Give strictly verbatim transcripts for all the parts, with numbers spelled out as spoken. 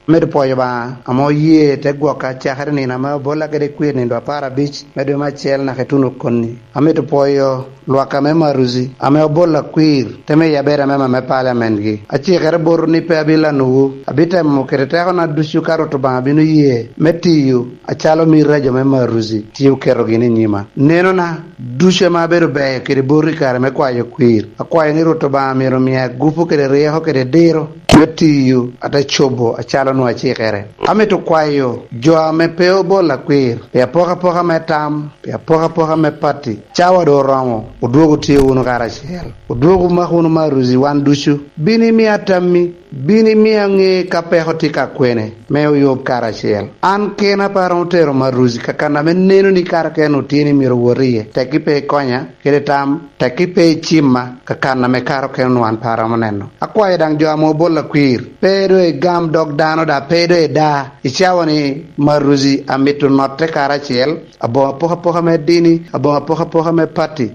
Amito pwoyo Obaŋa ame oye te gwoka cakere nino ame obolla kede kwir nino apar abic me dwe me acel naka ituno koni. Amito pwoyo lwak ame Maruzi ame obolla kwir te miya bedo amema me paliamentgi. Acikere botwu ni pe abilanuwu. Abitemo kede tekona ducu ka Rwot Obaŋa bino ye me tiyo acalo mito a jo me Maruzi tye oketogi ni nyima. Nenona ducu ame abedo beyo kede boti i kare me kwayo kwir. Akwayo ni Rwot Obaŋa myero omi agupu kede ryeko kede diro me tiyo ate cobo acalo onwoŋo acikere. Amito kwayo jo ame pe obolla kwir pi apokapoka me tam, pi apokapoka me pati, cawa doŋ oromo, odwogo tye wunu karacel. Odwogo mak wunu Maruzi wan ducu. Bin imi atammi, bin imi aŋe ka peko tye ka kwene, me oyub karacel. An kena pe aromo tero Maruzi ka kan ame neno ni kare kene otye ni myero owot iye. Tekki pe ikonya, kede tam, tekki pe icimma ka kan ame kare okene onwoŋo an pe aromo neno. Akwayo daŋ jo ame obolla kwir, pe doŋ igam dog dano, daŋ pe doŋ ida. Icawa ni Maruzi amito notte karacel, aboŋo apokapoka me dini, aboŋo apokapoka me pati.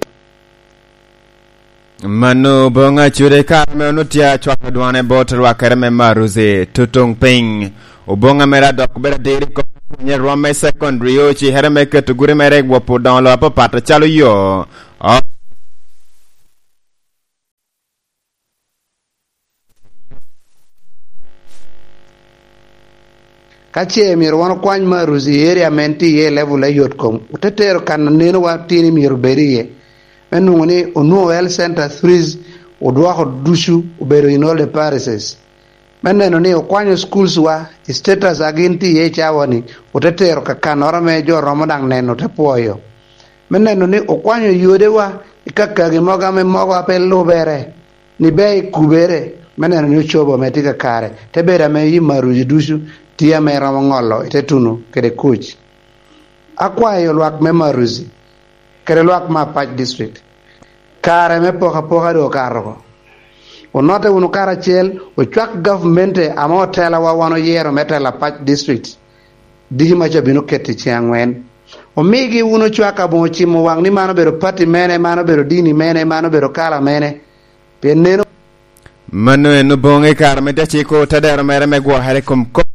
Mano oboŋo acude i kare ame onwoŋo tye acwalo dwane bot rwakere me Maruzi tutuŋ piny. Oboŋo mere adok bedo adiri i kom pwonye rwom me secondary, ocikere me keto gudi mere i wop odoŋo lo apapat acalo yo. O- Ka ce myero wan okwany Maruzi i area ame en tye iye i level a yot kom, ote tero kan a neno wa tye ni myero obed iye. Me nwoŋo ni onwoŋo health center threes odwoko ducu obedo in all the parishes. Me neno ni okwanyo schools wa, i status a gin tye iye i cawa ni, ote tero ka kannoro ame jo romo daŋ neno, ote pwoyo. Me neno ni okwanyo yodewa i kakagi mogo ame mogo a pe lubere, ni ber i kubere, me neno ni ocobo ame tye kakare, te bedo ame yi Maruzi ducu tye ame romo ŋolo i te tuno kede kuc. Akwayo lwak me Maruzi, kede lwak me Apac District, kare me pokapoka doŋ okato oko. Onotte wunu karacel, ocwak gavmente ame otelawa wan oyero me telo Apac District, diki maca bino keto i ceŋ aŋwen. Omigi wunu cwak aboŋo cimo waŋ ni man obedo pati mene, man obedo dini mene, man obedo kala mene. Pien neno, mano en oboŋo i kare me te ciko tedero mere me gwokere i kom kop